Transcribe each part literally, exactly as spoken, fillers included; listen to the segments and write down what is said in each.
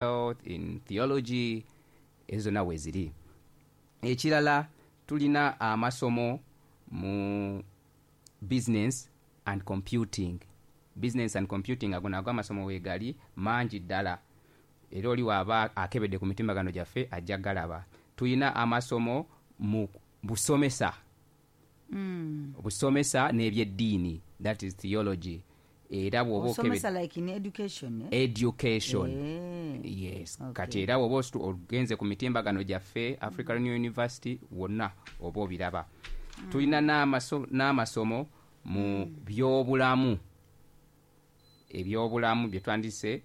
Health, in theology, ezo zonna weeziri. Ekirala, tulina amasomo mu business and computing. Business and computing, ago nago amasomo weegali mangi ddala, era oli waaba akebedde ku mitimbagano gyaffe ajja galaba. Tulina amasomo mu busomesa, Mm. busomesa n'ebyeddiini, that is theology. Era bw'oba osomesa like in education, eh? Education. Eh. Yes. Okay. Kati era bw'oba ostu- ogenze ku mitimbagano gyaffe, Africa Renewal University, wonna oba obiraba. Tulina n'amaso- n'amasomo mu byobulamu, ebyobulamu bye twandise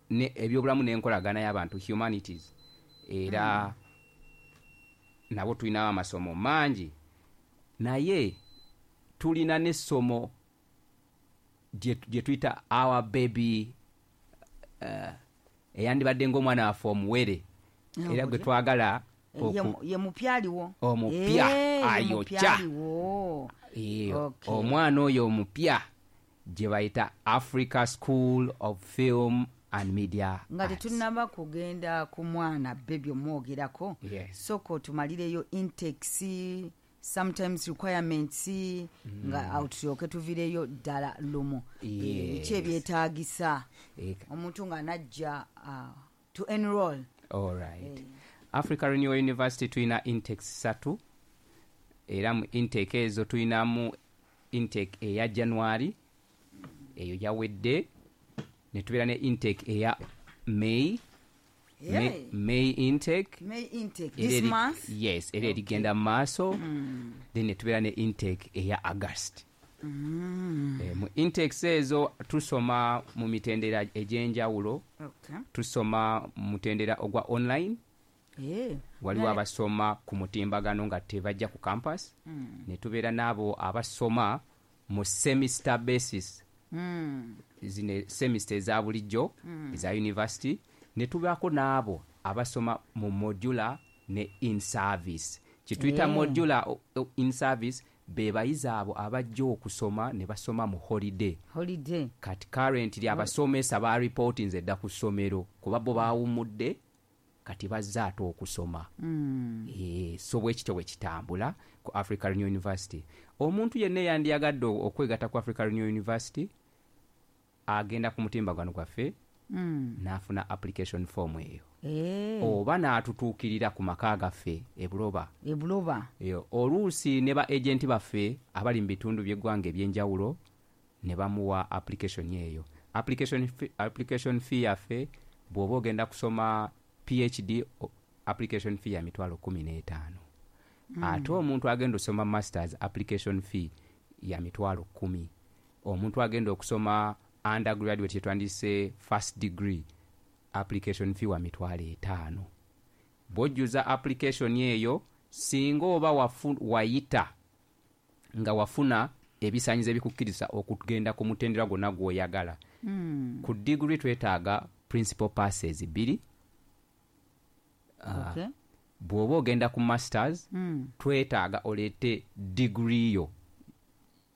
ne ebyobulamu n'enkolagana y'abantu, humanities. Era nabo tulinawo amasomo mangi, naye tulina n'essomo gye gye tuyita our baby, uh, eyandibadde ng'omwana waffe omuwere, era gwe twagala Eh, ye oku- mu- ye mupya aliwo. Omupya, Eh, ye ayokya. mupya aliwo. Eh, Okay. Omwana oyo omupya gye bayita Africa School of Film and Media Nga Arts. Tetunnaba kugenda ku mwana baby omwogerako, Yes. sooka otumalireyo intakes, sometimes requirements, nga awo tulyoke tuvireyo ddala lumu. Eh, Yes. Biki ebyetaagisa Eh, omuntu ng'anajja uh, to enroll? Alright. Africa Renewal University tulina intakes ssatu, era mu intake ezo tulinamu intake eya January, eyo yawedde, ne tubeera ne intake eya May. May, Hey. May intake. May intake. Era This eri- month. Yes, era erigenda mu maaso. Then ne tubeera ne intake eya August. Eh, mu intakes ezo tusoma mu mitendera egy'enjawulo. Okay. Tusoma mu mutendera ogwa online. Eh, Waliwo naye- abasoma ku mutimbagano nga tebajja ku campus, ne tubeera n'abo abasoma mu semester basis, Mm. zino semester eza bulijjo eza university, ne tubaako n'abo abasoma mu modular ne in service. Kyetuyita Eh. modular o- o- in service be bayizi abo abajja okusoma ne basoma mu holiday. Holiday. Kati currently abasomesa ba reportinze dda ku ssomero, kuba bo bawummudde, kati bazze ate okusoma. Mm. Eh, so bwe kityo bwe kitambula ku Africa Renewal University. Omuntu yenna eyandiyagadde okwegatta ku Africa Renewal University agenda ku mutimbagano gwaffe Mm. n'afuna application form eyo, Eh, oba n'atutuukirira ku maka gaffe e Buloba. Ebuloba. Eyo, oluusi ne ba agenti baffe abali mu bitundu by'eggwanga ebyenjawulo ne bamuwa application eyo. application fee, application fee yaffe, bw'oba ogenda kusoma P H D, o- application fee ya mitwalo kumi n'etaano. Ate omuntu agenda osoma masters, application fee ya mitwalo kumi. Omuntu agenda okusoma undergraduate, kyetwandise first degree, application fee wa mitwalo etaano. Bw'ojjuza application eyo, singa oba wafu, wayita nga wafuna ebisaanyizo ebikukkiriza okugenda ku mutendera gwonna gw'oyagala, Mm. ku degree twetaaga principal passes bbiri. Ah, Okay. Bw'oba ogenda ku masters, Mm. twetaaga oleete degree yo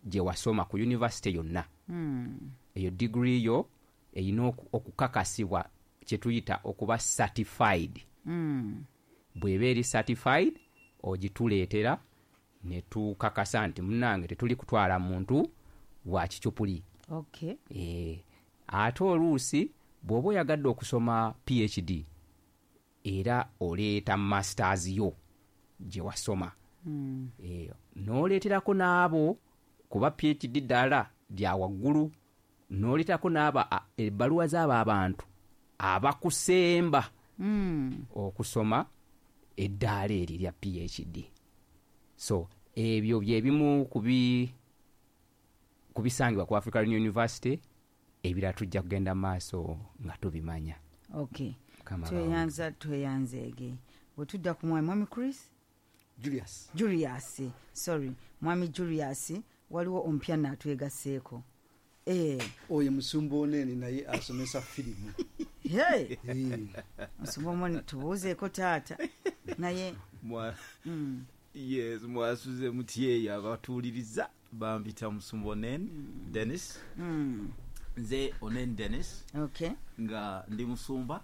gye wasoma ku university yonna. Mm. Eyo degree yo erina oku- okukakasibwa, kye tuyita okuba certified. Mm. Bw'eba eri certified, ogituleetera ne tukakasa nti munnange tetuli kutwala muntu wa kicupuli. Okay. E, ate oluusi bw'oba oyagadde okusoma P H D, era oleeta masters yo gye wasoma. Mm. e, n'oleeterako n'abo, kuba P H D ddala lya waggulu, n'oleeterako n'abo a- ebbaluwa z'abo abantu abakusemba Mm. okusoma eddaala eri lya P H D. So ebyo byebimu ku bi- ku bisangibwa ku Africa Renewal University. Ebirala tujja kugenda mu maaso nga tubimanya. Okay. Mukama. Tweyanza, tweyanzeege. Bwe tudda ku mwami mwami Chris. Julius. Julius, sorry, mwami Julius, waliwo omupya naatwegaseeko. Eh, Oyo musumba Onene, naye asomesa firimu. Hey, Eh, musumba Omoni, tubuuzeeko taata naye. Mwa- mm, yes, mwasuze mutyeyo abatuwuliriza? Bampita musumba Onen Dennis. mm, Nze Onen Dennis, okay nga ndi musumba.